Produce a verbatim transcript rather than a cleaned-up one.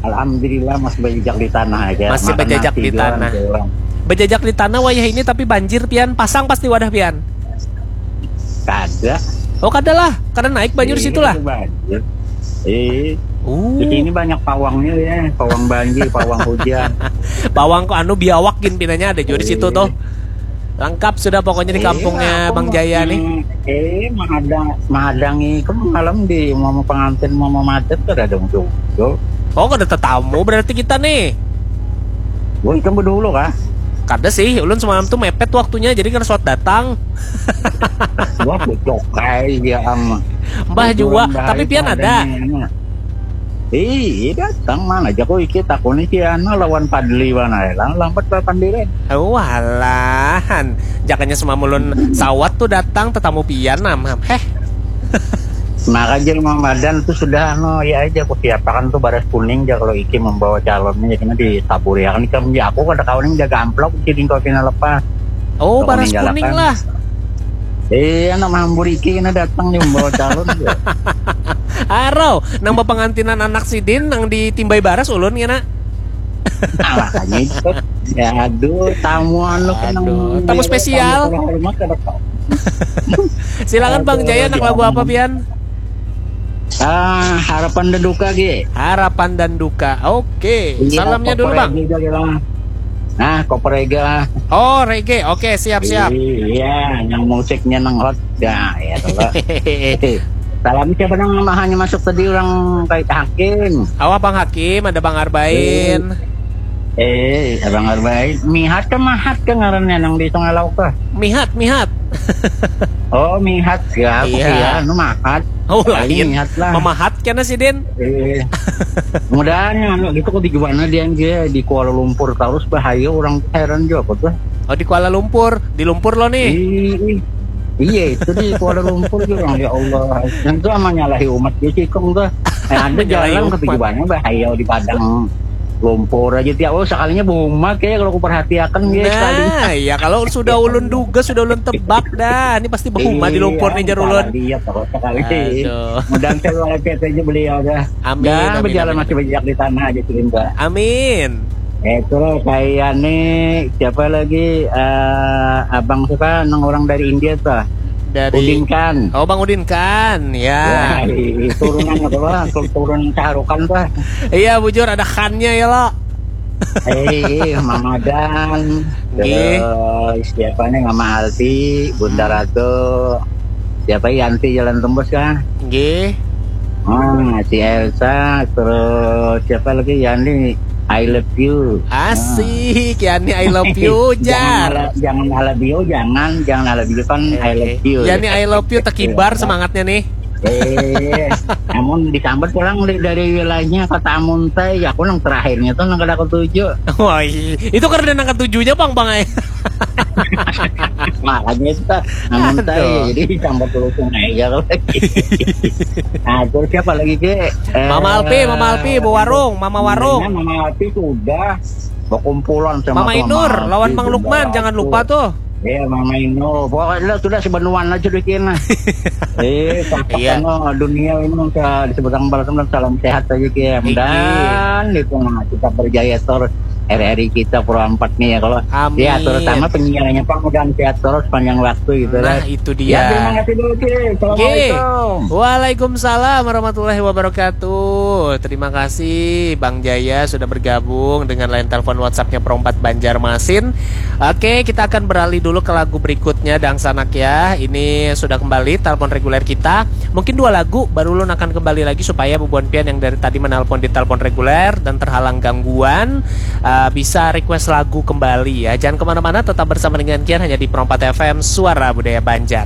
Alhamdulillah masih bajajak di tanah aja. Masih Makan bajajak nasi di jua tanah. Nanti orang. Bajajak di tanah wayah ini, tapi banjir pian, pasang pasti wadah pian. Kada. Oh, kada lah, kada naik banjir situ lah. Banjir. Eh, Uh, di sini banyak pawangnya ya, pawang banjir, pawang hujan. Bawang kok anu biawak gin pinanya ada juga di situ tuh. Lengkap sudah pokoknya di kampungnya Bang Jaya nih. Eh, mahadang, mahadangi kan malam di mama pengantin mama madat kada ada muncul. Oh, kada tetamu berarti kita nih. Woi, kan berdulu kah? Kada sih, ulun semalam tuh mepet waktunya jadi kada suat datang. Wah, bocok kai dia am. Mbah jua, tapi pian ada. Ih, datang mana aja kok iki takuni si anu lawan Padli mana lah lambat lah pandiran. Walahan, jakanya semamulun sawat tuh datang tetamu pian namam. Heh. Maka aja Mamadan tuh sudah anu ya aja aku siapakan tuh baras kuning aja kalau iki membawa calonnya jadi ditaburi akan ikam ya aku kada kawan yang jaga amplop jadi kau pina lepas. Oh, Kau baras ninggalakan. Kuning lah. Iya, nama hambur iki kena datang nih membawa calon dia. Arau, nang bapangantinan anak sidin nang ditimbai baras ulun kena. Nah, makanya itu. Ya aduh, tamu anu kena Aduh, tamu spesial. Tamu terhormat ada kau. Silakan Bang Jaya, nak lagu apa pian? Ah, harapan dan duka Gi. Harapan dan duka. Oke, Iya, salamnya dulu koper Bang. Aja lah. Nah, koper aja lah. Oh, reggae. Oke, siap siap. Iya, yang musiknya nang hot. Ya, ya dulu. Salam siapa nang hanya masuk tadi orang kayak Hakim. Awak Bang Hakim, ada Bang Arbain. Eh, Abang Arbain. Mihat ke mahat ke ngarannya nang di Sungai Lauk ke? Mihat, mihat. Oh, mihat ya, aku Iya. Kira nu mahat. Oh, Paling lain. Mihat lah. Memahat kena sidin. Eh, mudahan anu gitu kok di gimana dia dia di Kuala Lumpur terus bahaya orang heran juga apa tuh. Oh, di Kuala Lumpur, di Lumpur lo nih. Ih, iya itu di Kuala Lumpur juga orang ya Allah. Yang tuh sama nyalahi umat dia sih kong tuh. Nah, ada Menyalahi jalan umat. Ke gimana bahaya di Padang Lumpur aja tiap oh sekalinya baumat kayak kalau aku perhatiakan dia sekali. Nah, ya kalau sudah ulun duga, sudah ulun tebak dah. Ini pasti berhuma di Lumpur nih jar ulun. Iya, terus sekali. Aduh. Mudah-mudahan saya luar biasa aja beliau dah. Amin, Dan amin, berjalan amin, masih amin. Banyak di tanah aja sih Mbak. Amin. Eh, itu loh, kayak nih siapa lagi eh, abang suka nang orang dari India tuh. Dari Udin Khan. Oh, Bang Udin Khan, ya. Ya, i- turunan apa lah? Turunan Shah Rukh Khan tuh. Iya, bujur ada Khannya ya lo. Eh, Mama Dan, Nggih. Terus siapa nih Mama Alfi, Bunda Hmm. Ratu, siapa Yanti Jalan Tembus kah? Nggih. Ah, si Elsa, terus siapa lagi Yani, I love you. Asik, Yani I love you, Jangan jar. ala- jangan I love you, jangan, jangan I love you kan I love you. Yani I love you tekibar semangatnya nih. Eh, namun disambat pulang dari, dari wilayahnya kota Muntai, ya aku nang terakhirnya tuh nang kada ketujuh. Wah, iya. Itu karena nang ketujuhnya bang bang ay. Makanya itu namun Aduh. Muntai, jadi disambat dulu sungai ya. Nah, terus siapa lagi ke? Eh, Mama Alpi, Mama Alpi, bu warung, Mama warung. Mama Alpi sudah berkumpulan sama Mama Mama Inur, Alpi lawan Bang sudah. Lukman, jangan lupa tuh. Iya, Mama Ino. Pokoknya sudah sebenuan aja deh kena. Eh, Iya. iya. Dunia ini sudah disebut balas salam sehat aja Kim. Iki. Dan itu nah, kita berjaya terus hari-hari kita Pro empat nih ya kalau Amin. Ya terutama penyiarannya Pak mudah-mudahan sehat terus panjang waktu gitu Nah, kan. itu Ya, terima dia. Kasih dulu Kim. Oke. Assalamualaikum. Waalaikumsalam warahmatullahi wabarakatuh. Terima kasih Bang Jaya sudah bergabung dengan line telepon WhatsApp-nya Perompat Banjarmasin. Oke, kita akan beralih dulu ke lagu berikutnya Dangsanak ya. Ini sudah kembali telepon reguler kita. Mungkin dua lagu baru ulun akan kembali lagi supaya bubuhan pian yang dari tadi menelpon di telepon reguler dan terhalang gangguan eh, bisa request lagu kembali ya. Jangan kemana-mana, tetap bersama dengan Kian hanya di Perompat F M Suara Budaya Banjar.